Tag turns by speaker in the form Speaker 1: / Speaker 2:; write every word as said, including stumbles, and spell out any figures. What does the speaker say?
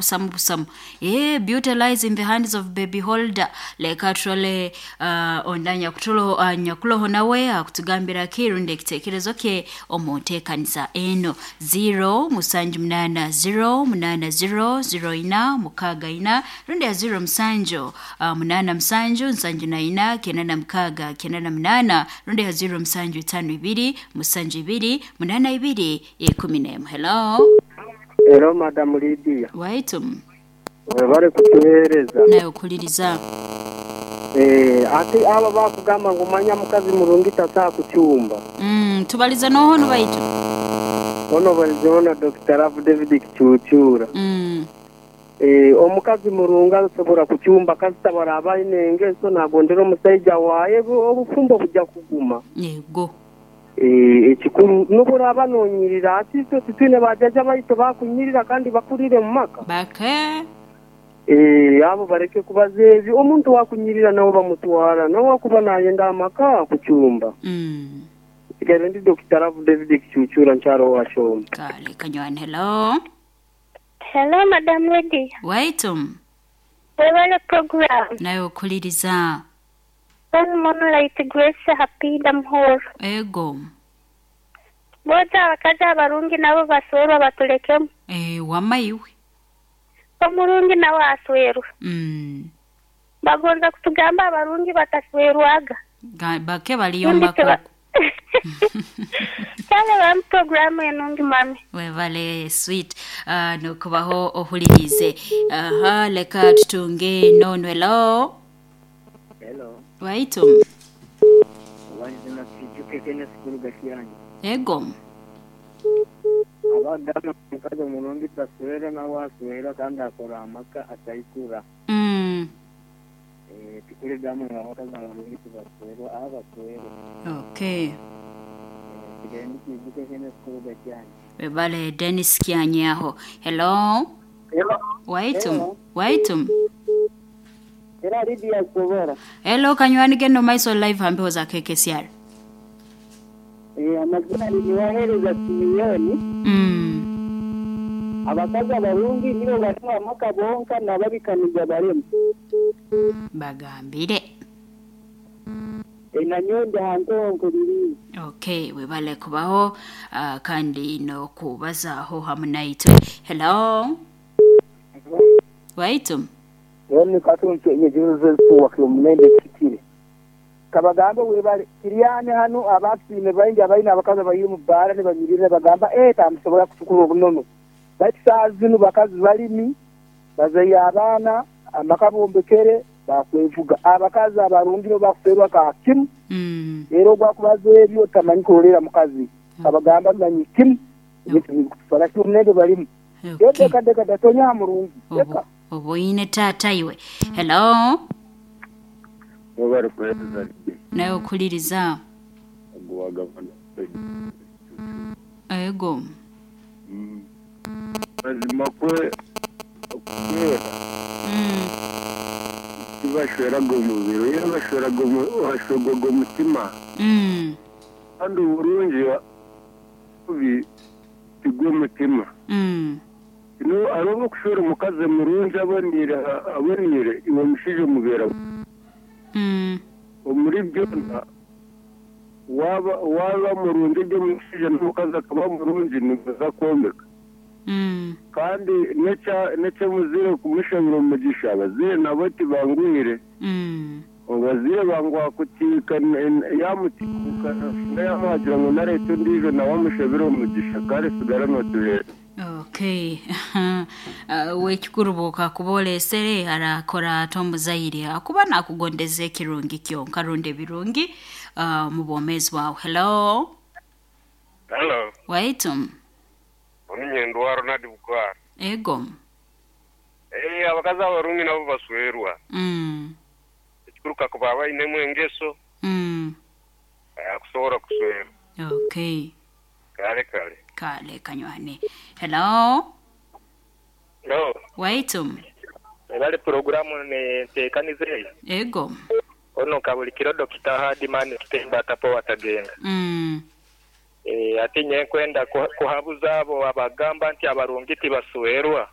Speaker 1: Busamu busamu eh beauty lies in the hands of baby holder. Leka turole uh, ondanya kutulo uh, nyakuloho nawe akutugambira kirundi ekitekerezo kye omu nteekaniza eno zero musanju munana zero munana zero zero ina mukaaga ina rundi ya zero musanju uh, munana musanju nsanju na ina kenda na mukaaga kenda na munana rundi ya zero musanju itano ibiri musanju ibiri munana ibiri ikumi n'emu. Hello.
Speaker 2: Hello, Madam Lydia.
Speaker 1: Waitum.
Speaker 2: Webale kutuhereza.
Speaker 1: Nawe okuliriza.
Speaker 2: Eh, ati aba bakugamba ngu manya mukazi murungi tasaa kucyumba.
Speaker 1: Mm, tubaliza noho baitu.
Speaker 2: Ono balizeona Doctor Rav David Kicucura.
Speaker 1: Mm.
Speaker 2: Eh, omukazi murungi asobora kucyumba kazitabara abaine engeso nagondera omusaija waye obufumbo bujja kuguma.
Speaker 1: Yego.
Speaker 2: Eh, ekikuru nuburaba nonyirira ati twe tutine bajaja baito bakunyirira kandi bakurire mu maka.
Speaker 1: Bake.
Speaker 2: Eh, abo bareke kubaza ebi omuntu wakunyirira nabo bamutwara nawe kuba nayenda amaka kucyumba.
Speaker 1: Mm.
Speaker 2: Kigere ndi Doctor Rav David Kicucura ncharo wa Shoma.
Speaker 1: Kale kanywan. Hello.
Speaker 3: Hello, Madam Lydia.
Speaker 1: Waitum.
Speaker 3: Webale program.
Speaker 1: Nawe okuliriza.
Speaker 3: One Moonlight Grace Happy Muhoro.
Speaker 1: Ego.
Speaker 3: Boza abakazi abarungi nabo baswerwa batulekemu.
Speaker 1: Eh, wamaiwe.
Speaker 3: Omurungi nawe aswerwa.
Speaker 1: Mm.
Speaker 3: Bagonza kutugamba abarungi bataswerwaga.
Speaker 1: Bake baliyombako.
Speaker 3: Kale bam programu enungi mami.
Speaker 1: Webale sweet. Uh, nokubaho ohulirize. Aha, leka tutunge nono. Hello.
Speaker 4: Hello.
Speaker 1: Waitum.
Speaker 4: Wazina kijuke kenya sikuru gashiani.
Speaker 1: Ego.
Speaker 4: Abagamba mukazi omurungi taswera nawe aswera kandi akora amaka ataikura.
Speaker 1: Mm.
Speaker 4: Eh, tikuri gamu abakazi abarungi tibaswerwa abaswerwa.
Speaker 1: Okay.
Speaker 4: Kigende kijuke kenya sikuru gashiani.
Speaker 1: Webale Dennis Kianyaho. Hello.
Speaker 2: Hello.
Speaker 1: Waitum.
Speaker 2: Hello.
Speaker 1: Waitum.
Speaker 2: Era Lydia Sobora.
Speaker 1: Hello kanywani geno maiso live hambeho za K K C R.
Speaker 2: Eh, amazina ni wahereza Simiyoni.
Speaker 1: Mm.
Speaker 2: Abakazi abarungi nibo barimo amaka bonka nababikaniza barimo.
Speaker 1: Bagambire.
Speaker 2: E nanyonde hanto nkuriri.
Speaker 1: Okay, webale kubaho uh, kandi no kubazaho hamwe naitwe. Hello. Waitum.
Speaker 2: Yoni katuntu enyejuze kuwa munende kitire. Kabagambe webale kiriyane hano abatsine baingi abaina abakazi bayiri mu bara ne banyirire bagamba eh tamusobola kutukura obunono. Bati saazinu bakazi balimi bazaye abaana amakabombekere bakwevuga abakazi abarungi bakuferwa ka kimu.
Speaker 1: Mm.
Speaker 2: Rero gwakubaza ebyo tamanyi kulolera mukazi. Kabagamba manyi kimu. Ekyo munende balimu.
Speaker 1: Okay.
Speaker 2: Deka deka datonya murungi. Deka.
Speaker 1: Oboine tata iwe. Hello.
Speaker 5: Wabari kuhereza.
Speaker 1: Nawe okuliriza.
Speaker 5: Ogwagavana.
Speaker 1: Ego.
Speaker 5: Mm. Mazima kwe okwera.
Speaker 1: Mm.
Speaker 5: Tibashweraga omubiri, era bashweraga bashwegwaga omutima.
Speaker 1: Mm.
Speaker 5: Kandi oburungi bubi tigwe omutima.
Speaker 1: Mm.
Speaker 5: No arobo kushora omukazi murungi abonire abonire iwe mushije mubera.
Speaker 1: Mm.
Speaker 5: Omuri byona waba waba murungi byo mushije n'omukazi akaba murungi nibaza kwombeka.
Speaker 1: Mm.
Speaker 5: Kandi necha necha muzire kumushabira omugisha abazire nabo tibanguhire.
Speaker 1: Mm.
Speaker 5: Abazire bangwa kutika yamutikuka yamuhagira ngo narete ndijo nawe amushabire omugisha kare sigara notuhere.
Speaker 1: Okay. uh, wekikurubuka kubolesere arakora tombuzaire akuba nakugondeza ekirungi kyonka runde birungi uh, mu bwomezi bwawe. Hello.
Speaker 6: Hello.
Speaker 1: Waitum.
Speaker 6: Omunyendo Ronald Bukwara.
Speaker 1: Ego.
Speaker 6: Eh, abakazi abarungi nabo baswerwa.
Speaker 1: Mm.
Speaker 6: Ekikuruka kuba bainemu engeso.
Speaker 1: Mm.
Speaker 6: Akusobola kuswerwa.
Speaker 1: Okay.
Speaker 6: Kale kale.
Speaker 1: Kale kanywane. Hello.
Speaker 6: Hello.
Speaker 1: Waitum.
Speaker 6: Ebale programu ne ntekanize.
Speaker 1: Ego.
Speaker 6: Ono kabulikiro Doctor Hardman kitemba tapo watagenda.
Speaker 1: Mm.
Speaker 6: Eh, ati nye kwenda kuhabuza abo abagamba nti abarungi tibaswerwa.